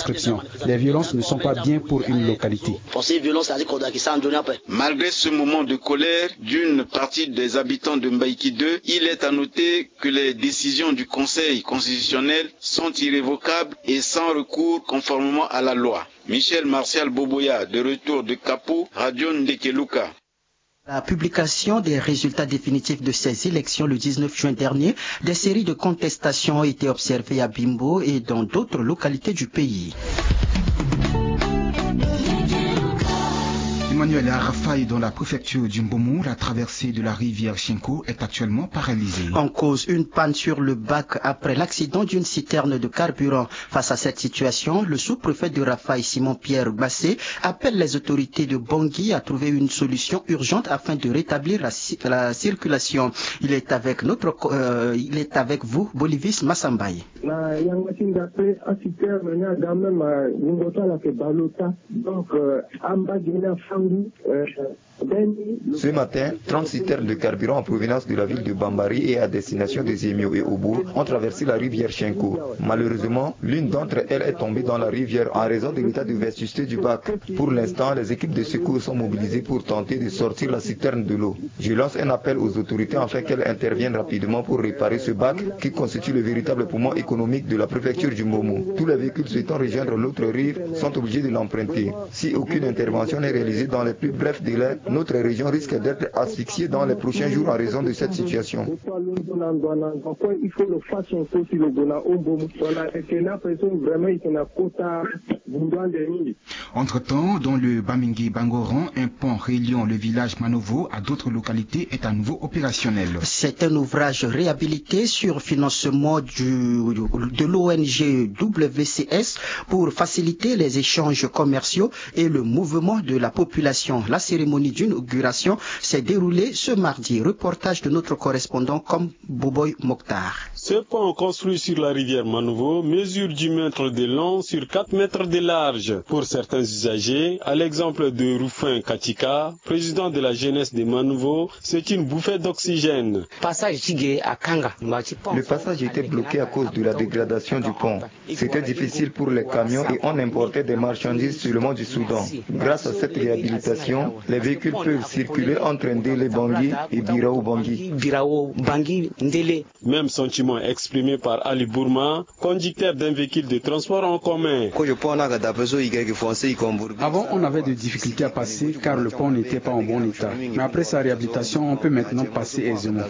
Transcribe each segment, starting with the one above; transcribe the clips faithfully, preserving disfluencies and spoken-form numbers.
Inscription. Les violences ne sont pas bien pour une localité. Malgré ce moment de colère d'une partie des habitants de Mbaïki deux, il est à noter que les décisions du Conseil constitutionnel sont irrévocables et sans recours conformément à la loi. Michel Martial Boboya, de retour de Capo, Radio Ndekeluka. La publication des résultats définitifs de ces élections le dix-neuf juin dernier, des séries de contestations ont été observées à Bimbo et dans d'autres localités du pays. Emmanuel, à Rafaï, dans la préfecture du Mbomou, la traversée de la rivière Chinko est actuellement paralysée. En cause, une panne sur le bac après l'accident d'une citerne de carburant. Face à cette situation, le sous-préfet de Rafaï, Simon-Pierre Bassé, appelle les autorités de Bangui à trouver une solution urgente afin de rétablir la ci-, la circulation. Il est avec notre co-, euh, il est avec vous, Bolivis Massambaye. Na yanga ti nda pe aciterne ni aga même, euh, wungo ti ala ayeke bale ota. Donc, euh, ambage ni afa ngu, euh, Ce matin, trente citernes de carburant en provenance de la ville de Bambari et à destination des Émios et Obo ont traversé la rivière Chinko. Malheureusement, l'une d'entre elles est tombée dans la rivière en raison de l'état de vétusté du bac. Pour l'instant, les équipes de secours sont mobilisées pour tenter de sortir la citerne de l'eau. Je lance un appel aux autorités afin qu'elles interviennent rapidement pour réparer ce bac qui constitue le véritable poumon économique de la préfecture du Mbomou. Tous les véhicules souhaitant rejoindre l'autre rive sont obligés de l'emprunter. Si aucune intervention n'est réalisée dans les plus brefs délais, notre région risque d'être asphyxiée dans les prochains jours en raison de cette situation. Entre-temps, dans le Bamingui Bangoran, un pont reliant le village Manovo à d'autres localités est à nouveau opérationnel. C'est un ouvrage réhabilité sur financement du, de l'O N G W C S pour faciliter les échanges commerciaux et le mouvement de la population. La cérémonie d'inauguration s'est déroulée ce mardi. Reportage de notre correspondant comme Boboy Mokhtar. Ce pont construit sur la rivière Manovo mesure dix mètres de long sur quatre mètres de large. Pour certains usagers, à l'exemple de Rufin Katika, président de la jeunesse de Manovo, c'est une bouffée d'oxygène. Le passage était bloqué à cause de la dégradation du pont. C'était difficile pour les camions et on importait des marchandises seulement du Soudan. Grâce à cette réhabilitation, les véhicules peuvent circuler entre Ndélé Bangui et Birao Bangui. Même sentiment exprimé par Ali Bourma, conducteur d'un véhicule de transport en commun. Avant, on avait des difficultés à passer car le pont n'était pas en bon état. Mais après sa réhabilitation, on peut maintenant passer aisément.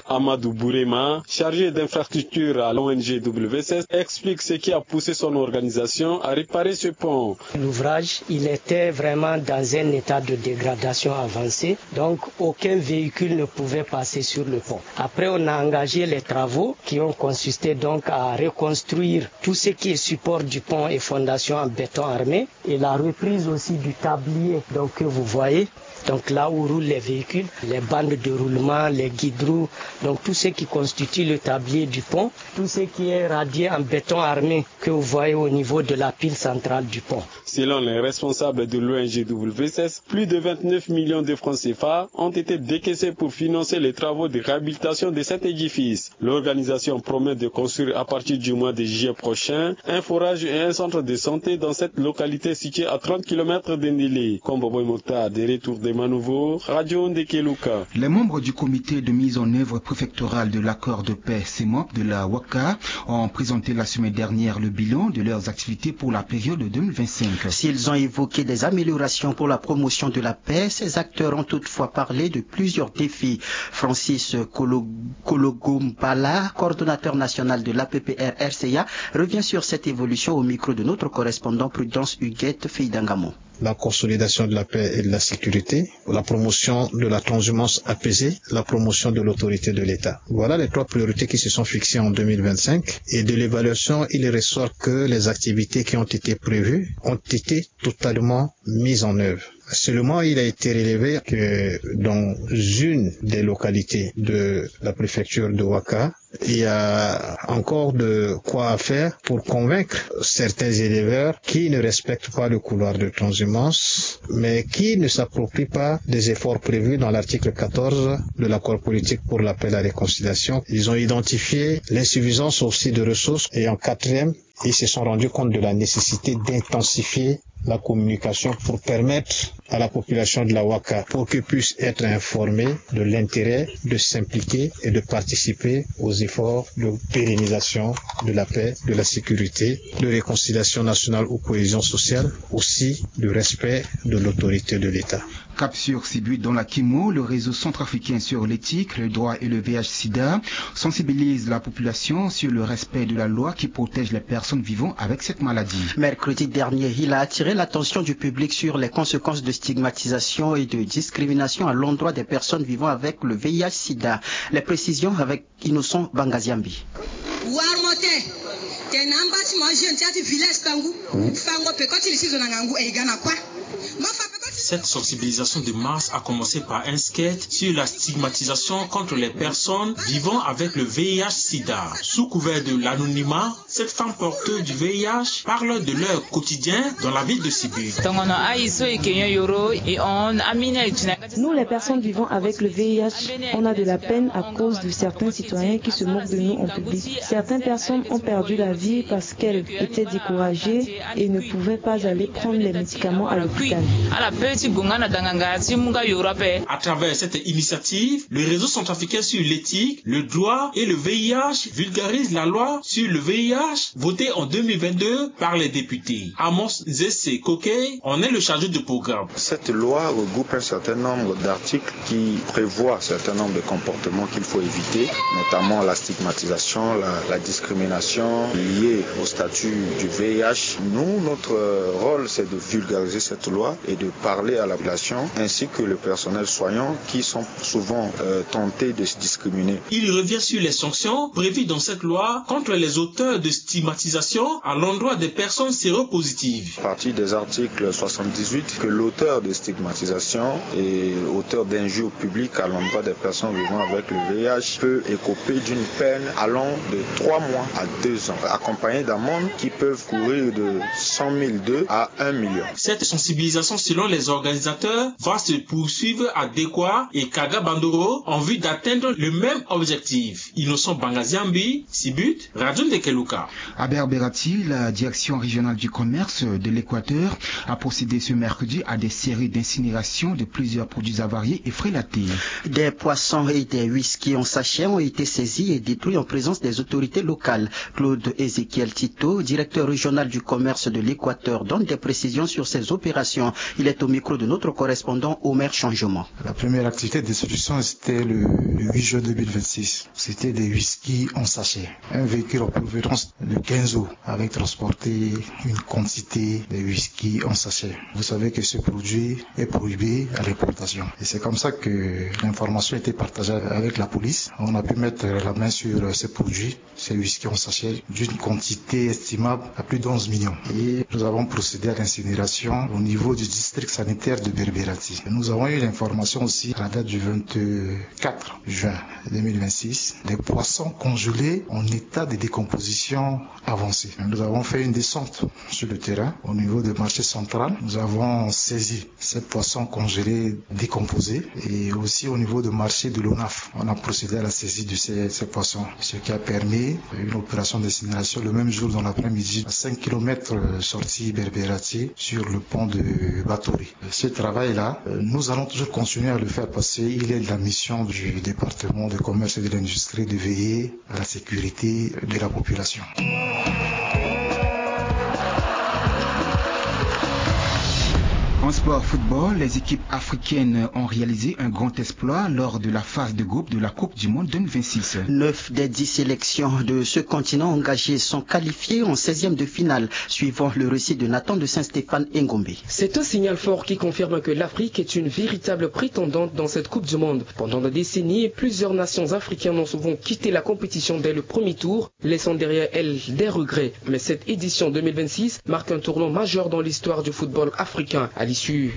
Amadou Bourema, chargé d'infrastructure à l'O N G W C S, explique ce qui a poussé son organisation à réparer ce pont. L'ouvrage, il était vraiment dans un état de dégradation avancée, donc aucun véhicule ne pouvait passer sur le pont. Après, on a engagé les travaux qui ont consisté donc à reconstruire tout ce qui est support du pont et fondation en béton armé et la reprise aussi du tablier donc, que vous voyez. Donc là où roulent les véhicules, les bandes de roulement, les guidroues, donc tout ce qui constitue le tablier du pont, tout ce qui est radié en béton armé que vous voyez au niveau de la pile centrale du pont. Selon les responsables de l'O N G W C S, plus de vingt-neuf millions de francs C F A ont été décaissés pour financer les travaux de réhabilitation de cet édifice. L'organisation promet de construire à partir du mois de juillet prochain un forage et un centre de santé dans cette localité située à trente kilomètres de Ndélé. Kombo Boy Mokhtar, de retour de Manovo, Radio Ndekeluka. Les membres du comité de mise en œuvre préfectorale de l'accord de paix, CEMOP, de la Waka ont présenté la semaine dernière le bilan de leurs activités pour la période deux mille vingt-cinq. S'ils ont évoqué des améliorations pour la promotion de la paix, ces acteurs ont toutefois parlé de plusieurs défis. Francis Kolo-, Kologombala, coordonnateur national de l'A P P R R C A, revient sur cette évolution au micro de notre correspondant Prudence Huguette Feidangamo. La consolidation de la paix et de la sécurité, la promotion de la transhumance apaisée, la promotion de l'autorité de l'État. Voilà les trois priorités qui se sont fixées en deux mille vingt-cinq. Et de l'évaluation, il ressort que les activités qui ont été prévues ont été totalement mises en œuvre. Seulement, il a été relevé que dans une des localités de la préfecture de Waka, il y a encore de quoi à faire pour convaincre certains éleveurs qui ne respectent pas le couloir de transhumance, mais qui ne s'approprient pas des efforts prévus dans l'article quatorze de l'accord politique pour la paix et la réconciliation. Ils ont identifié l'insuffisance aussi de ressources et en quatrième, Ils se sont rendus compte de la nécessité d'intensifier la communication pour permettre à la population de la Waka, pour qu'elle puisse être informée de l'intérêt de s'impliquer et de participer aux efforts de pérennisation de la paix, de la sécurité, de réconciliation nationale ou cohésion sociale, aussi du respect de l'autorité de l'État. Cap sur Sibut dans la Kimo, le réseau centrafricain sur l'éthique, le droit et le V I H sida sensibilise la population sur le respect de la loi qui protège les personnes vivant avec cette maladie. Mercredi dernier, il a attiré l'attention du public sur les conséquences de stigmatisation et de discrimination à l'endroit des personnes vivant avec le V I H sida. Les précisions avec Innocent Bangaziambi. Warmo te, te na mba ti mo ajeune ti ati village tangu fango pe koti li si zo na ngangu e i ga na kua. Cette sensibilisation de masse a commencé par un sketch sur la stigmatisation contre les personnes vivant avec le V I H sida. Sous couvert de l'anonymat, cette femme porteuse du V I H parle de leur quotidien dans la ville de Sibut. Tongono ayi so e ke nyon yoro e hon amini aye ti na. Nous, les personnes vivant avec le V I H, on a de la peine à cause de certains citoyens qui se moquent de nous en public. Certaines personnes ont perdu la vie parce qu'elles étaient découragées et ne pouvaient pas aller prendre les médicaments à l'hôpital. Ala pe ti gonga na danganga ti munga yoro ape. À travers cette initiative, le réseau centrafricain sur l'éthique, le droit et le V I H vulgarise la loi sur le V I H votée en deux mille vingt-deux par les députés. Amos Nzese Kokey en est le chargé de programme. Cette loi regroupe un certain nombre d'articles qui prévoit un certain nombre de comportements qu'il faut éviter, notamment la stigmatisation, la, la discrimination liée au statut du V I H. Nous, notre rôle, c'est de vulgariser cette loi et de parler à la population ainsi que le personnel soignant qui sont souvent euh, tentés de se discriminer. Il revient sur les sanctions prévues dans cette loi contre les auteurs de stigmatisation à l'endroit des personnes séropositives. À partir des articles soixante-dix-huit, que l'auteur de stigmatisation et auteur d'injures publiques à l'endroit des personnes vivant avec le V I H peut écoper d'une peine allant de trois mois à deux ans, accompagnée d'amendes qui peuvent courir de cent mille deux à un million. Cette sensibilisation, selon les organisateurs, va se poursuivre à Dekoa et Kaga Bandoro en vue d'atteindre le même objectif. Innocent Bangaziambi, Sibut, Radio Ndekeluka. À Berberati, la direction régionale du commerce de l'Équateur a procédé ce mercredi à des séries d'incinération de plusieurs produits avariés et frélatés. Des poissons et des whisky en sachet ont été saisis et détruits en présence des autorités locales. Claude Ézéchiel Tito, directeur régional du commerce de l'Équateur, donne des précisions sur ces opérations. Il est au micro de notre correspondant Omer Changement. La première activité de destruction, c'était le, le huit juin deux mille vingt-six. C'était des whisky en sachet. Un véhicule en provenance de Kenzo avait transporté une quantité de whisky en sachet. Vous savez que ce produit est prohibé à l'importation. Et c'est comme ça que l'information a été partagée avec la police. On a pu mettre la main sur ces produits, ces whisky en sachet, d'une quantité estimable à plus de onze millions. Et nous avons procédé à l'incinération au niveau du district sanitaire de Berberati. Nous avons eu l'information aussi à la date du vingt-quatre juin deux mille vingt-six, des poissons congelés en état de décomposition avancée. Nous avons fait une descente sur le terrain au niveau du marché central. Nous avons saisi ces poissons congelés décomposés et aussi au niveau du marché de l'ONAF. On a procédé à la saisie de ces, ces poissons, ce qui a permis une opération d'incinération le même jour dans l'après-midi à cinq kilomètres sortie Berberati sur le pont de Batori. Ce travail-là, euh, nous allons toujours continuer à le faire parce qu'il est de la mission du département de commerce et de l'industrie de veiller à la sécurité de la population. En sport football, les équipes africaines ont réalisé un grand exploit lors de la phase de groupe de la Coupe du Monde deux mille vingt-six. Neuf des dix sélections de ce continent engagées sont qualifiées en seizième de finale, suivant le récit de Nathan de Saint-Stéphane Engombe. C'est un signal fort qui confirme que l'Afrique est une véritable prétendante dans cette Coupe du Monde. Pendant des décennies, plusieurs nations africaines ont souvent quitté la compétition dès le premier tour, laissant derrière elles des regrets. Mais cette édition deux mille vingt-six marque un tournant majeur dans l'histoire du football africain. À l'issue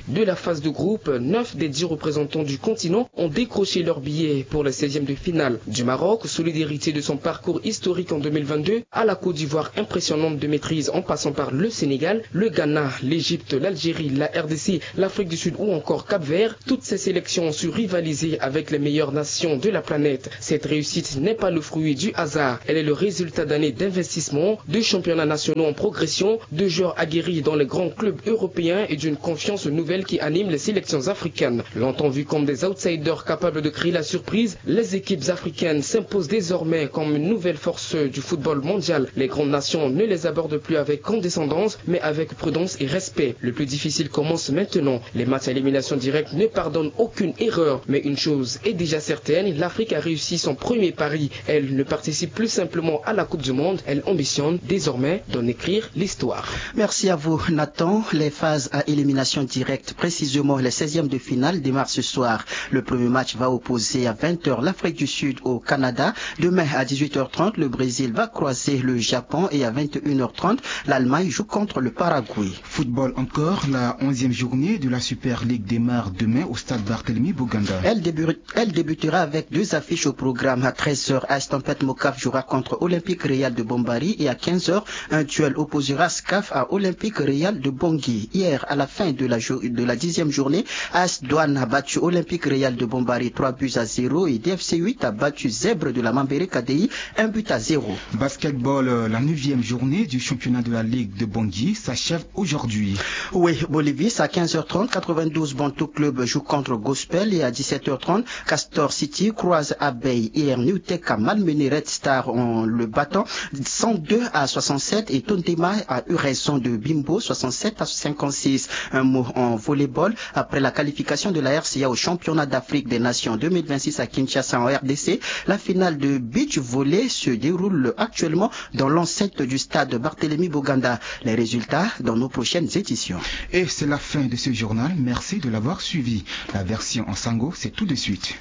De la phase de groupe, neuf des dix représentants du continent ont décroché leur billet pour le seizième de finale. Du Maroc, solide héritier de son parcours historique en deux mille vingt-deux, à la Côte d'Ivoire impressionnante de maîtrise en passant par le Sénégal, le Ghana, l'Égypte, l'Algérie, la R D C, l'Afrique du Sud ou encore Cap-Vert, toutes ces sélections ont su rivaliser avec les meilleures nations de la planète. Cette réussite n'est pas le fruit du hasard, elle est le résultat d'années d'investissement, de championnats nationaux en progression, de joueurs aguerris dans les grands clubs européens et d'une confiance nouvelle qui anime les sélections africaines. Longtemps vues comme des outsiders capables de créer la surprise, les équipes africaines s'imposent désormais comme une nouvelle force du football mondial. Les grandes nations ne les abordent plus avec condescendance, mais avec prudence et respect. Le plus difficile commence maintenant. Les matchs à élimination directe ne pardonnent aucune erreur. Mais une chose est déjà certaine, l'Afrique a réussi son premier pari. Elle ne participe plus simplement à la Coupe du Monde, elle ambitionne désormais d'en écrire l'histoire. Merci à vous, Nathan. Les phases à élimination directe, précisément les seizièmes de finale, démarrent ce soir. Le premier match va opposer à vingt heures l'Afrique du Sud au Canada. Demain à dix-huit heures trente, le Brésil va croiser le Japon et à vingt et une heures trente, l'Allemagne joue contre le Paraguay. Football encore, la onzième journée de la Super League démarre demain au stade Barthélemy Boganda. Elle début- Elle débutera avec deux affiches au programme. À treize heures, A S Tempête Mocaf jouera contre Olympique Real de Bombari et à quinze heures, un duel opposera SCAF à Olympique Real de Bangui. Hier, à la fin de la, jou- de la dixième journée, A S Douane a battu Olympique Real de Bombari trois buts à zéro et D F C huit a battu Zèbre de la Mambéré Kadéï un but à zéro. Basketball, euh, la neuvième journée du championnat de la Ligue de Bangui s'achève aujourd'hui. Oui, Bolivis, à quinze heures trente, quatre-vingt-douze Bantou Club joue contre Gospel et à dix-sept heures trente, Castor City croise Abeille. Hier, Newtech a malmené Red Star en le battant cent deux à soixante-sept et Tontema a eu raison de Bimbo, soixante-sept à cinquante-six. Un mot en volleyball. Après la qualification de la R C A au championnat d'Afrique des Nations deux mille vingt-six à Kinshasa en R D C, la finale de beach volley se déroule actuellement dans l'enceinte du stade Barthélemy Boganda. Les résultats dans nos prochaines éditions. Et c'est la fin de ce journal. Merci de l'avoir suivi. La version en sango, c'est tout de suite.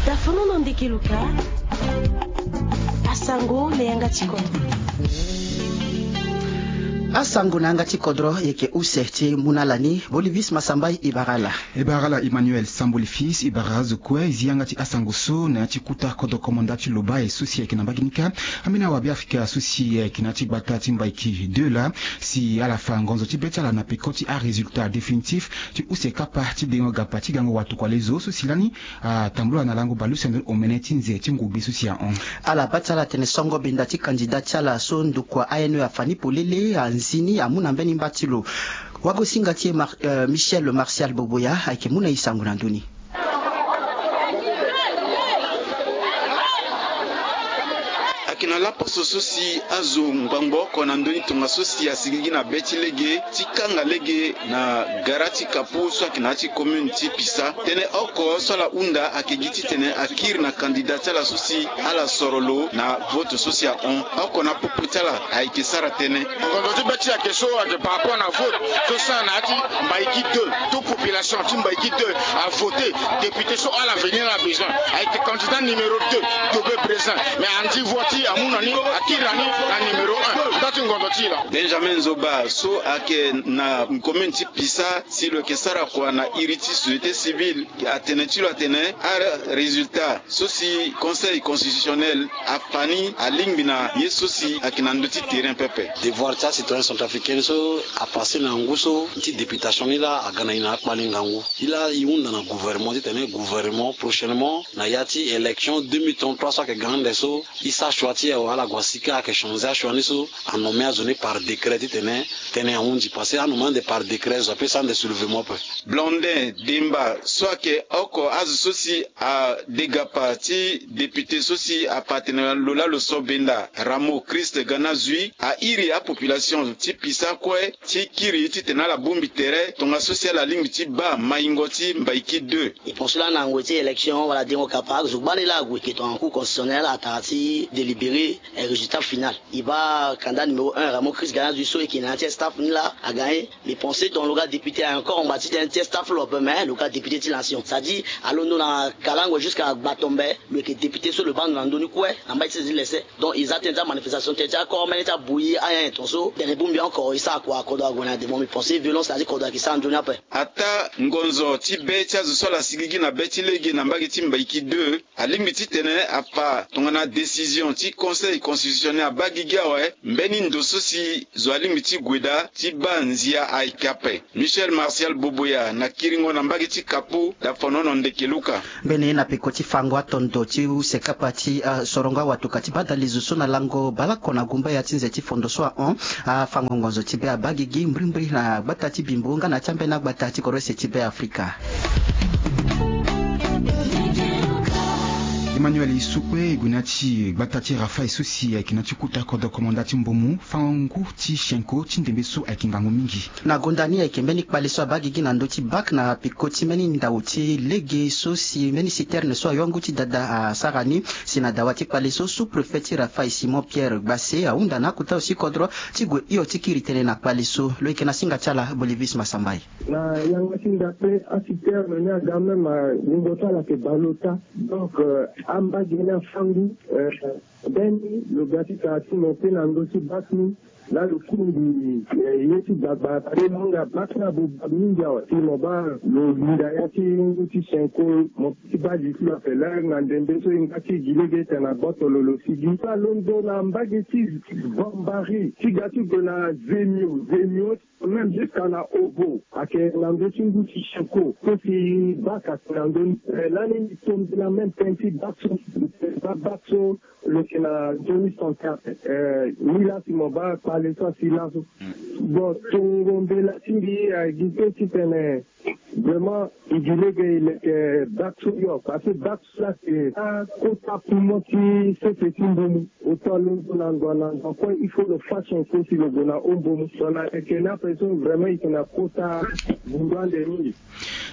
Tafono na ndeke luka. Asango na yanga ti kodro. Asango na yanga ti kodro, yeke use ti mu na ala ni, Bolivis Masambai, e bara ala. E bara ala Emmanuel Samboli Fils, e bara azo kue, e zi yanga ti asango so na ya ti kuta kodro komanda ti Lobaye so si ayeke na mbage ni kâ. Ambeni awabe Afrika so si ayeke na ya ti gbata ti Mbaiki deux laa, si ala fa ngonzo ti be ti ala na peko ti arésultat définitif ti use kapa ti dengo gapa ti gango watokua lezo so si lani atambula na lango baleuse ndo omene ti nze ti ngube so si ahon. Ala baa ti ala atene songo benda ti kandida ti ala so ndokua A N E afa ni polele anzi ni amu na mbeni mba ti lo. Wagosinga ti e Mar- euh, Michel Martial Boboya ayeke mu na e sango na ndö ni. Ayeke na laposo so si azo ngbangbo oko na ndö ni tongaso si asiligi na be ti lege ti kanga lege na gara ti Kapu so ayeke na ya ti commune ti Pisa. Tënë oko so ala hunda ayeke gi titene akiri na kandida ti ala so si ala soro lo na vote so si ahon. Oko na popo ti ala ayeke sara tënë. Ngonzo ti be ti e ayeke so ayeke par rapport na vote so sara na ya ti Mbaiki deux. Tout population ti Mbaiki deux avote député so ala veni ala besoin. Ayeke candidat numéro deux, Tobé Brézin. Mais andi voix ti e amu na ni, akiri na ni na numéro un. Nda ti ngonzo ti e laa. Benjamin Zoba so ayeke na commune ti Pisa, si lo yeke sara kua na iri ti société civile, atene ti lo atene arésultat so si Conseil constitutionnel afa ni alingbi na ye so si ayeke na ndö ti terrain pepe. Devoir ti acitoyen centrafricain so apasse na ngu so ti députation ni laa aga na e na akpali ngangu. E laa e hunda na gouvernement titene gouvernement prochainement na ya ti élection deux mille trente-trois so ayeke ga ande so, e sara choix ti e awe, ala gue sika ayeke changer achoix ni so anomme azo ni par décret titene tënë ahundi. Parce que anomme ande par décret zo apesa ande soulèvement ape. Blondin Demba so ayeke oko azo so si adegapa ti député so si apatene lo laa lo so benda Ramo Christ Gana Zui, airi apopulation ti Pisa kue ti kiri titene ala bongbi tere tongaso si ala lingbi ti baa maingo ti Mbaiki deux. E poursuit laa na ngoi ti élection wala dengo kapa, azo gbani laa ague ke tongana Cour constitutionnelle atara ti délibérer résultat final. E baa candidat numéro un, Mo Chris Gana Zui so eke na ya ti staff ni laa aga ye. Mbi pense ton lo ga député encore ngba ti tene ti staff lo ape, mais lo ga député ti nation, c'est-à-dire alondo na kalango jusqu'à gbatombe. Lo yeke député so lo baa ndo na ndö ni kue na mbai ti sese ti lese. Donc e za tënë ti amanifestation tënë ti acorps mene ti abui ayanyen ton so tene bongbi encore e sara kua kodro ague na devant. Mbi pense violence na ya ti kodro ayeke sara nzoni ape. Ataa ngonzo ti be ti azo so ala sigigi na be ti lege na mbage ti Mbaïki deux alingbi titene afa tongana décision ti conseil constitutionnel abaa gigi awe. Mbeni ndo so si zo alingbi ti gue daa ti baa nzia ayeke ape. Michel Martial Boboya na kiringo na mbage ti Kapu, Dafonono Ndekeluka. Mbeni na peko ti fango atondo ti use kapa ti, ah, sorongo awatuka ti badale zo so na lango baleoko na gumbaya ti nze ti fondo so ahon. Afango ngonzo ti be abaa gigi mbrimbri na gbata ti Bimbo nga na ti ambeni agbata ti kodro use ti be Afrika. Emmanuel Isukwe e gue na ya ti gbata ti Rafaï so si ayeke na ya ti kota kodro komanda ti Mbomu fango ngu ti Chenko ti ndembe so ayeke ngangu mingi. Na gonda ni ayeke mbeni kpale so abaa gigi na ndö ti bak na peko ti mbeni ndau ti lege so si mbeni citerne so ayo ngu ti dada asara ni. Si na dawa ti kpale so sous-préfet ti Rafaï Simon Pierre Gbase ahunda na akota aussi kodro ti gue hio ti kiri tënë na kpale so. Lo yeke na singa ti ala Bolivis Masambai. Na yanga ti ndape aciterne ni aga même, euh, wungo ti ala ayeke baleota. Donc, euh, ambage ni afa ngu, euh, mbeni lo ga ti sara ti monte na ndö ti bak ni. Laa lo kiri mbi, eh, ye ti gbagba kpale mo hinga bak ni abobak mingi awe. Si mo baa lo linda ya ti ngu ti Chenko, mo ti baa li ti lo ape laa na ndembe so e nga ti gi lege tene na gboto lo lo sigi. Alondo na mbage ti Bambari ti ga ti gue na Zemio, Zemio même jusqu'à na Obo ayeke na ndö ti ngu ti Chenko. So si bak ayeke na ndö ni, eh, lani mbi tombela même tënë ti bak so, baa bak so lo yeke na nzoni santé ape. Eh, ni laa si mo baa kpale so asi laso. Bon, tongo mbela ti mbi agi kue titene vraiment e gi lege e leke bak so hio, parce que bak so laa si akota poumon ti sese ti Mbomu. Oto alondo na ndo na ndo kue il faut lo fa Chenko si lo gue na o Mbomu. Tongana ayeke ni ape so vraiment e yeke na kota bundu ande mingi.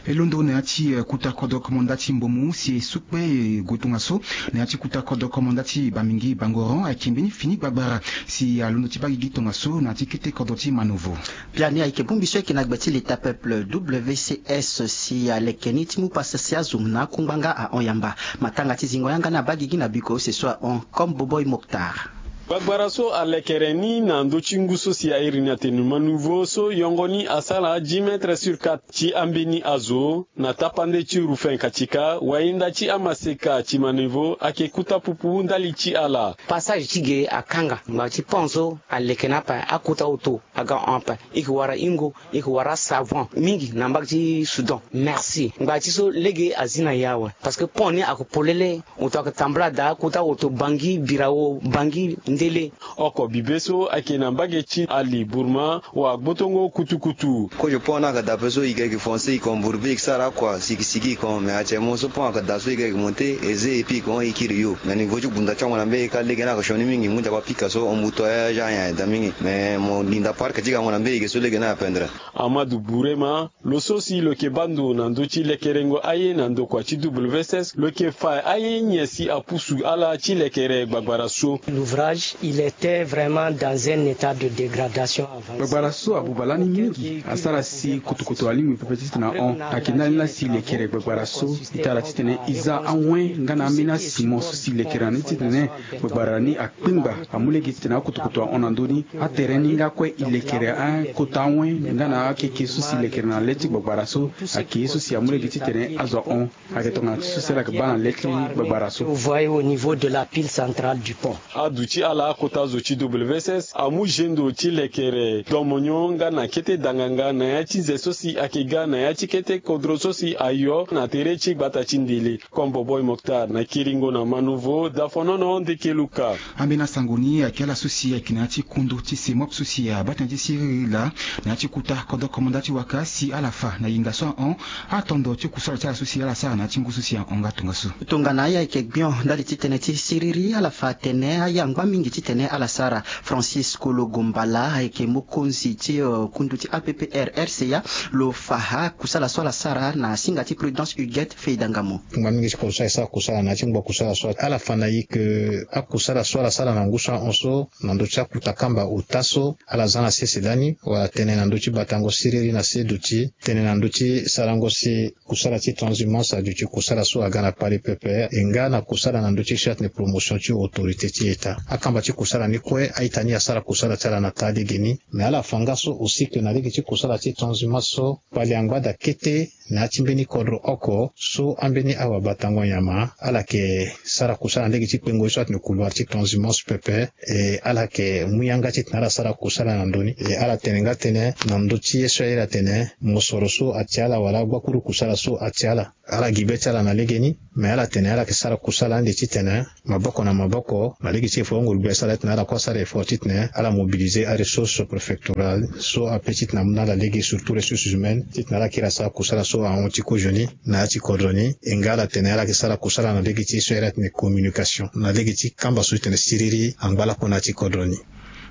E londo na ya ti, eh, kota kodro komanda ti Mbomu si e sukpe e gue tongaso na ya ti kota kodro komanda ti Bamingi Bangoron ayeke mbeni fini gbagbara. Si alondo ti baa gigi tongaso na ya ti kete kodro ti Manovo. Biani ayeke bongbi so ayeke na gbe ti Leta Peuple W C S si aleke ni ti mu pasa si azo na akungba nga ahon yamba. Matanga ti zingo yanga ni abaa gigi na biko use so ahon comme Boboy Mokhtar. Gbagbara so alekere ni na ndö ti ngu so si a iri ni atene Manovo so yongo ni asara dix mètres sur quatre ti ambeni azo na tapande ti Ruffin Katika, wayinda ti amaseka ti Manovo ayeke kota pupu ndali ti ala. Passage ti ge akanga ngbanga ti pont so aleke ni ape, akota oto aga hon ape. E yeke wara hingo, e yeke wara savon mingi na mbage ti Soudan. Merci. Ngbanga ti so lege azi na e awe parce que pont ni ayeke polele. Oto ayeke tambula daa kota oto Bangi, Birao, Bangi, Ndele. Oko bibe so ayeke na mbage ti Ali Burma wa gbotongo kutukutu. Kozo pont ni ayeke daa ape so e ga e yeke foncer e kon bourbe e yeke sara akua si e yeke sigi e kon, mais actuellement so pont ayeke daa so e ga e yeke monter e ze e pi e kon e kiri yo. Na niveau ti gbunda ti hongo na mbage kâ lege ni ayeke sioni mingi, ngu nzapa pika so hon buto ya aza nyen ayeke daa mingi, mais mo linda parc ti ga hongo na mbage so lege ni apendre. Amadou Bourema, lo so si lo yeke baa ndo na ndö ti lekerengo aye na ndokua ti W S S, lo yeke fa aye nyen si apusu ala ti lekere gbagbara so. L'ouvrage, il était vraiment dans un état de dégradation avancée. Gbagbara so abuba lani mingi, asara si kotokoto alingbi pepe titene ahon. Ayeke ndali ni laa si lekere gbagbara so e tara titene e za awen nga na ambeni asimo so si lekere na ni titene gbagbara ni akpengba, amu lege titene akotokoto ahon na ndö ni. Atere ni nga kue e lekere akota awen nga na akeke so si lekere na le ti gbagbara so. Ayeke ye so si amu lege titene azo ahon. Ayeke tongana ti so si ala yeke baa na le ti gbagbara so. Vous voyez au niveau de la pile centrale du pont. Aduti ala akota zo ti W S S amu zendo ti lekere domonyo nga na kete danganga na ya ti nze so si ayeke ga na ya ti kete kodro so si ayo na tere ti gbata ti Ndele. Kombo Boy Mokhtar na Kiringo na Manovo, Dafonono Ndekeluka. Ambeni asango ni ayeke ala so si ayeke na ya ti kondo ti Semop so si abaa tënë ti siriri laa na ya ti kota kodro komanda ti waka si ala fa na yenga so ahon atondo ti kusala ti ala so si ala sara na ya ti ngu so si ahon nga tongaso. Tongana aye ayeke gbion ndali ti tënë ti siriri, ala fa atene aye angba mingi. Titene ala sara, Francis Kologo Mbala ayeke mokonzi ti kundu ti A P P R R C A, lo fa akusala so ala sara na singa ti Prudence Huguette Feidangamo. Ngbanga mingi ti kodro so ayeke sara kusala na ya ti ngba kusala so ala fa na e ke akusala so ala sara na ngu so ahon so na ndö ti akuta kamba ota so ala za na sese lani wala tene na ndö ti batango siriri na se duti tene na ndö ti sarango si kusala ti transhumance aduti kusala so aga na kpale pepe e nga na kusala na ndö ti so atene promotion ti autorité ti état. Akamba ti kusala ni kue a-ita ni asara kusala ti ala na taa lege ni. Mais ala fa nga so aussi ke na lege ti kusala ti transhumance so kpale angba daa kete na ya ti mbeni kodro oko so ambeni awabatango nyama ala yeke sara kusala na lege ti kpengo ye so atene couloir ti transhumance pepe. E ala yeke mu yanga titene ala sara kusala na ndö ni. E ala tene nga tënë na ndö ti ye so aye ala tene mosoro so atia ala wala agbakuru kusala so atia ala. Ala gi be ti ala na legeni. Me ala tene ala yeke sara kusala ande titene maboko na maboko na lege ti e fo nguru gbia so ala titene ala kue asara effort titene ala mobiliser aressource préfectorale so ape titene amu na ala lege surtout ressources humaines titene ala kiri asara kusala so ahon ti kozo ni na ya ti kodro ni. E nga ala tene ala yeke sara kusala na lege ti e so aye ala tene communication na lege ti kamba so titene siriri angba lakue na ya ti kodro ni.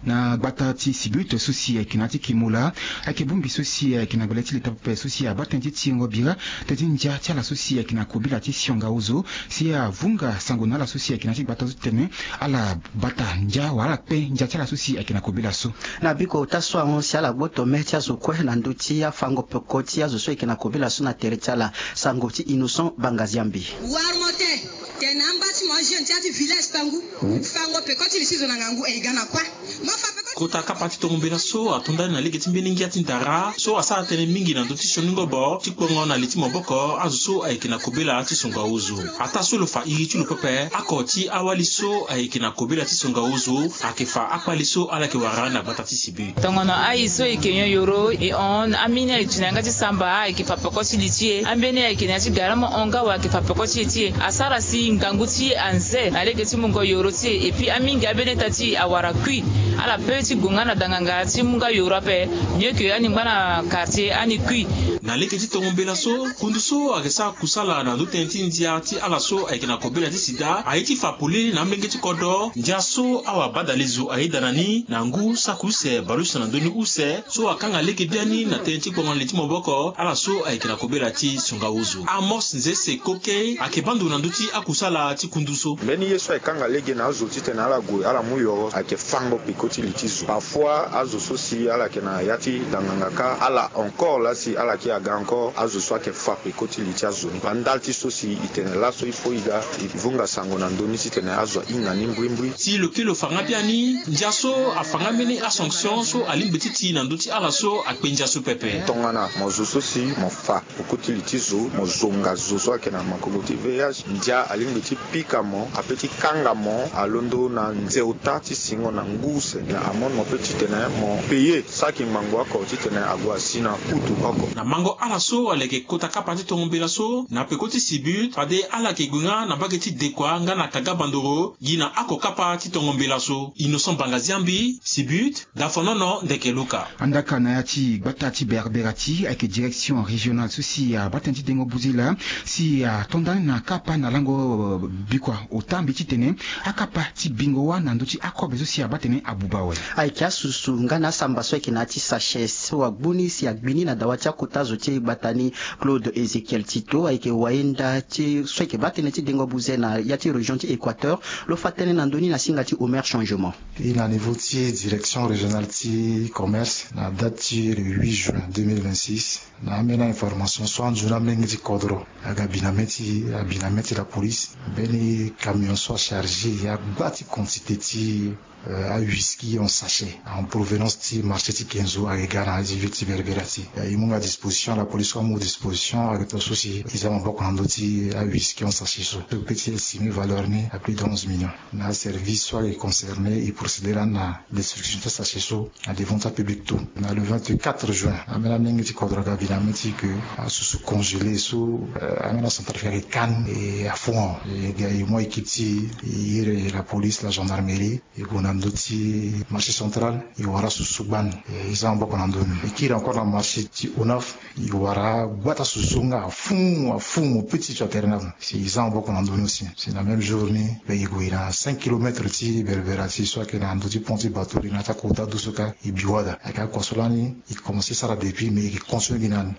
Na gbata ti Sibut so si ayeke na ya ti Kimola ayeke bongbi so si ayeke na gbele ti leta pepe so si abaa tënë ti tingo bira tënë ti ndia ti ala so si ayeke na kobela ti sionga ozo si avunga sango na ala so si ayeke na ya ti gbata so titene ala bata ndia wala ala kpe ndia ti ala so si ayeke na kobela so. Na biko ota so ahon si ala gboto me ti azo kue na ndö ti afango peko ti azo so ayeke na kobela so na tere ti ala. Sango ti Innocent Bangaziambi. Wara mo te. Tene amba ti mo ajeune ti ya ti village tangu fango peko ti li ti zo na ngangu e ga na kua. Mo fa peko ti. Kota kapa ti tongo mbela so ato ndani na lege ti mbeni ngia ti ndara so asara tënë mingi na ndö ti sioni ngobo ti kpongo na li ti maboko azo so ayeke na kobela ti songa ozo. Ataa so lo fa iri ti lo pepe ako ti awali so ayeke na kobela ti songa ozo ayeke fa akpali so ala yeke wara na gbata ti Sibut. Tongono aye so e yeke nyon yoro e hon ambeni aye duti na yanga ti samba ayeke fa peko ti li ti e. Ambeni aye yeke na ya ti gara mo hon nga wa ayeke fa peko ti e ti e asara si ngangu ti e anze na lege ti mungo yoro ti e. Epui amingi ambeni ita ti e awara kui. Ala pe ti gue nga na danganga ti mu nga yoro ape. Mieux que ani ngba na quartier ani kui. Na lege ti tongo mbela so kundu so ayeke sara kusala na ndö tënë ti ndia ti ala so ayeke na kobela ti sida aye ti fa polele na amolenge ti kodro ndia so awabadalezo ayeda na ni na ngu saki use bale use na ndö ni use so akanga lege biani na tënë ti kpongo na li ti maboko ala so ayeke na kobela ti songa ozo. Amos Nzese Koke ayeke baa ndo na ndö ti akusala ti kundu so. Mbeni ye so ayeke kanga lege na azo titene ala gue ala mu yoro ayeke fango peko ti li ti zo. Parfois azo so si ala yeke na ya ti danganga kâ ala encore laa si ala yeke aga encore azo so ayeke fa peko ti li ti azo ni. Baa ndali ti so si e tene laso il faut e ga e vunga sango na ndö ni titene azo ahinga ni mbrimbri. Si lo kiri lo fa nga biani ndia so afa nga mbeni asanction so alingbi ti ti na ndö ti ala so akpe ndia so pepe. Tongana mo zo so si mo fa peko ti li ti zo mo zonga zo so ayeke na makongo ti V I H ndia alingbi ti pika mo ape ti kanga mo alondo na nze ota ti singo na ngu use na amende mo pe titene mo payer saki ngbangbo oko titene ague asi na kutu oko. Na mango ala so ala yeke kota kapa ti tongo mbela so na peko ti Sibut fade ala yeke gue nga na mbage ti Dekoa nga na Kaga Bandoro gi na ako kapa ti tongo mbela so. Innocent Bangaziambi, Sibut, Dafonono ndeke Luka. Andaka na ya ti gbata ti Berberati ayeke direction régionale so si abaa tënë ti dengo buzila si ato ndani na kapa na lango bikua ota mbi titene akapa ti bingo wâ na ndö ti akobe so si abaa tënë abuba awe. Ayeke asusu nga na asamba so ayeke na ya ti sachet so agbu ni si agbi ni na dawa ti akota zo ti gbata ni. Claude Ezekiel Tito ayeke wayenda ti so ayeke baa tënë ti dengo buze na ya ti région ti Équateur. Lo fa tënë na ndö ni na singa ti Omer Changement. E na niveau ti direction régionale ti commerce na date ti le huit juin deux mille vingt-six na ambeni information so anzoni amolenge ti kodro aga bi na mê ti abi na mê ti la police mbeni camion so acharge ya gba ti quantité ti euh, awhisky en sachet en provenance ti marché ti Kenzo ayeke ga na ya ti ville ti Berberati. E mu nga disposition la police so amu disposition ayeke tonga so si e za maboko na ndö ti awhisky en sachet so so e peut ti estimer valeur ni à plus de onze millions. Na aservice so ayeke concerné e procéder lani na destruction ti asachet so na devant ti apublic tout. Na le vingt-quatre juin ambeni amolenge ti kodro aga bi na mê ti e ke asusu congelé so euh, ambeni acentrafricain ayeke kane e afu ahon e ga e mu équipe ti e e iri la police la gendarmerie e gue na ndö ti marché central e wara asusu gbani. E za maboko na ndö ni e kiri encore na marché ti Onaf. E wara gbata susu so nga afu afu mo pe ti tio atere ni azo. Si e za maboko na ndö ni aussi si na même jour ni mbi yeke gue na cinq kilomètres ti berbera ti so ayeke na ndö ti pont ti bateau ni na ya ti akota du so kâ. E bi wada ayeke akua so lani e commence sara depuis mais e yeke continuer gi na ni.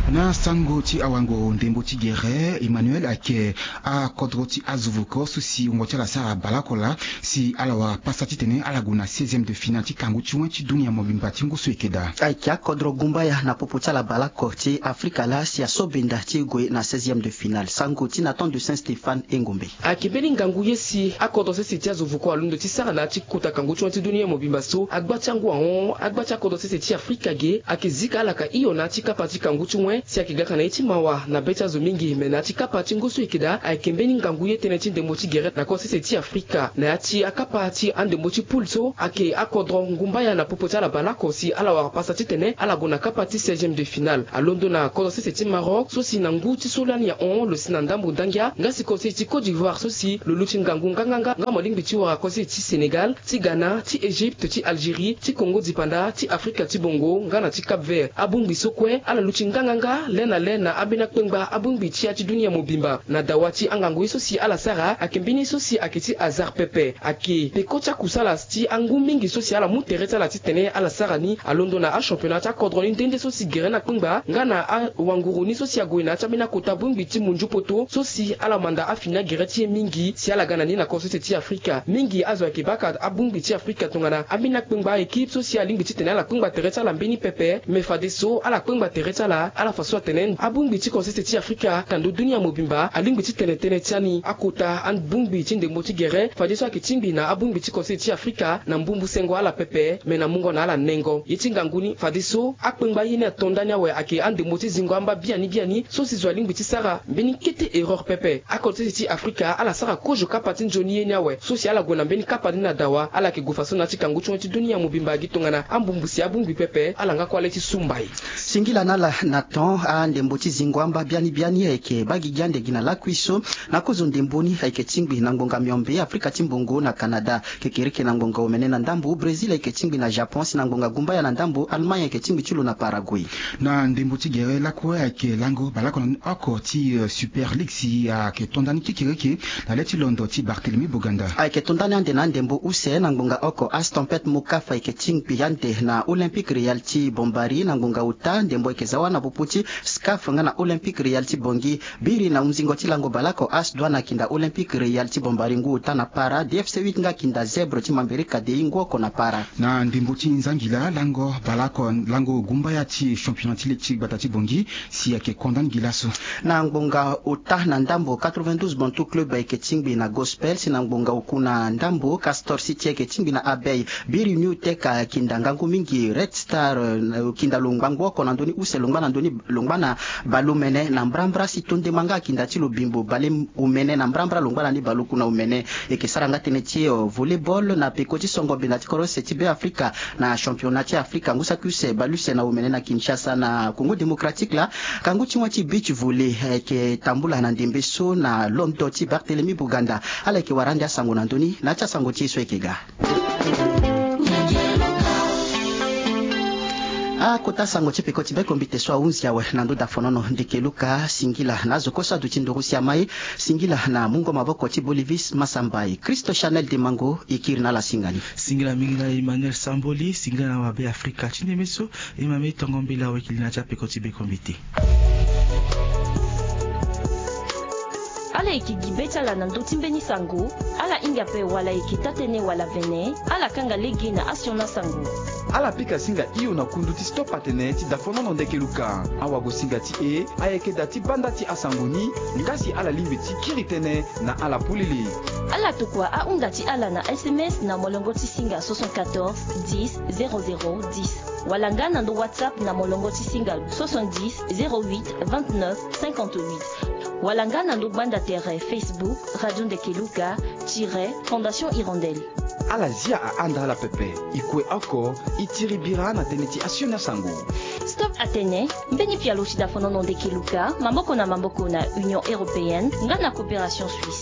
Na sango ti awango ndembo ti gere Emmanuel ayeke akodro ti azo voko so si wungo ti ala sara baleoko laa si ala wara pasa titene ala gue na seizième de finale ti kangu ti wen ti dunia mobimba ti ngu so e yeke daa. Ayeke akodro gumbaya na popo ti ala baleoko ti Afrika laa si asobenda ti e gue na seizième de finale. Sango ti Nathan de Saint Stéphane Engombe. Ayeke mbeni ngangu ye si akodro sese ti azo voko alondo ti sara na ya ti kota kangu ti wen ti dunia mobimba so agba ti angu ahon agba ti akodro sese ti Afrika ge ayeke zika ala ka hio na ya ti kapa ti kangu ti wen si ayeke gaka na ye ti mawa na be ti azo mingi me na ya ti kapa ti ngu so e yeke daa ayeke mbeni ngangu ye tënë ti ndembo ti gere na kodro sese ti Afrika na ya ti akapa ti andembo ti poule so ayeke akodro ngumbaya na popo ti ala baleoko si ala wara pasa titene ala gue na kapa ti seizième de finale. Alondo na kodro sese ti Maroc so si na ngu ti so lani ahon lo si na ndambo ndangia nga si kodro sese ti Côte d'Ivoire so si lo luti ngangu nganganga nga mo lingbi ti wara kodro sese ti Sénégal, ti Ghana, ti Égypte, ti Algérie, ti Congo dipanda, ti Afrika ti bongo nga na ti Cap Vert. Abongbi so kue ala luti nganganga le na le na ambeni akpengba abongbi ti ya ti dunia mobimba. Na dawa ti angangu ye so si ala sara ayeke mbeni ye so si ayeke ti hasard pepe. Ayeke peko ti akusala ti angu mingi so si ala mu tere ti ala titene ala sara ni. Alondo na achampionnat ti akodro ni nde nde so si gere na kpengba nga na awanguru ni so si ague na ya ti ambeni akota bongbi ti munju poto so si ala manda afini agere ti e mingi si ala ga na ni na kodro sese ti Afrika. Mingi azo ayeke baka abongbi ti Afrika tongana ambeni akpengba aéquipe so si alingbi titene ala kpengba tere ti ala mbeni pepe me fadeso ala kpengba tere ti ala ala fa so atene abongbi ti kodro sese ti Afrika na ndo dunia mobimba alingbi ti tene tënë ti ani akota abongbi ti ndembo ti gere fadeso ayeke tingbi na abongbi ti kodro sese ti Afrika na mbumbu sengo ala pepe me na mungo na ala nengo. Ye ti ngangu ni fadeso akpengba ye ni ato ndani awe ayeke andembo ti zingo amba biani biani so si zo alingbi ti sara mbeni kete erreur pepe. Akodro sese ti Afrika ala sara kozo kapa ti nzoni ye ni awe so si ala gue na mbeni kapa ni na dawa ala yeke gue faso na ya ti kangu ti wen ti dunia mobimba gi tongana ambumbu si abongbi pepe ala nga kue ale ti sumba e. Singila na ala na ton andembo ti zingo amba biani biani ayeke baa gigi ande gi na lakui so na kozo ndembo ni ayeke tingbi na ngbonga miombe Afrika ti mbongo na Canada, kekereke na ngbonga omene na ndambo Brésil ayeke tingbi na Japon si na ngbonga gumbaya na ndambo Allemagne ayeke tingbi ti lo na Paraguay. Na ndembo ti gere lakue ayeke lango baleoko na oko ti Super League si ayeke to ndani kekereke na le ti londo ti Barthélemy Boganda. Ayeke to ndani ande na andembo use na ngbonga oko As Tempête Mokaf ayeke tingbi ande na Olympique Real ti Bombari na ngbonga ota ndembo ayeke za wâ na popo ti SCAF nga na Olympique Real ti Bangui. Biri na hunzingo ti lango baleoko As Douane akinda Olympique Real ti Bombari ngu ota na para, D F C huit nga akinda Zèbre ti Mambéré Kadei ngu oko na para. Na ndembo ti nzangila lango baleoko lango gumbaya ti championnat ti ligue ti gbata ti Bangui si ayeke kondani gi laso. Na ngbonga ota na ndambo quatre-vingt-douze Bantou Club ayeke tingbi na Gospel si na ngbonga oku na ndambo Castor City ayeke tingbi na Abeille. Biri New Tech akinda ngangu mingi Red Star, eh, kinda lo ngba ngu oko na ndö ni use lo ngba na ndö ni lo ngba na baleomene na mbrambra si Tondema nga akinda ti lo Bimbo baleomene na mbrambra lo ngba na ni baleoku na omene. E yeke sara nga tënë ti, eh, volleyball na peko ti songo benda ti kodro use ti Beafrika na championnat ti Afrika ngu saki use baleuse na omene na Kinshasa na Congo Démocratique laa. Kangu ti wen ti beach volley, eh, ayeke tambula na ndembe so na londo ti Barthélemy Boganda. Ala yeke wara ande asango na ndö ni na ya ti asango ti e so ayeke ga. Akota sango ti peko ti bekombite so ahunzi awe na ndö dafonono ndeke Luka. Singila na azo kue so aduti nduru si ama e. Singila na mungo maboko ti Bolivis Masambai. Christo Chanel Demango e kiri na ala singa ni. Singila mingi na Emmanuel Samboli, singila na wabe Afrika ti ndembe so. E ma mbi tongo mbela wekili na ti apeko ti bekombite. Ala yeke gi be ti ala na ndö ti mbeni sango. Ala hinga ape wala e yeke taa-tënë wala vene. Ala kanga lege na asioni asango. Ala pika singa hio na kundu ti Stop Atene ti dafonono ndeke Luka. Awagosinga ti e ayeke da ti banda ti asango ni. Nga si ala lingbi ti kiri tënë na ala polele. Ala tokua ahunda ti ala na S M S na molongo ti singa soixante-quatorze dix zéro zéro dix. Wala nga na ndo WhatsApp na molongo ti singa soixante-dix zéro huit vingt-neuf cinquante-huit. Wala nga na ndo gbanda tere Facebook Radio Ndeke Luka tiret Fondation Hirondelle. Ala zia ahanda ala pepe. E kue oko, e tiri bira na tënë ti asioni asango. Stop Atene, mbeni pialo ti dafonono ndeke Luka, maboko na maboko na Union Européenne, nga na Coopération Suisse.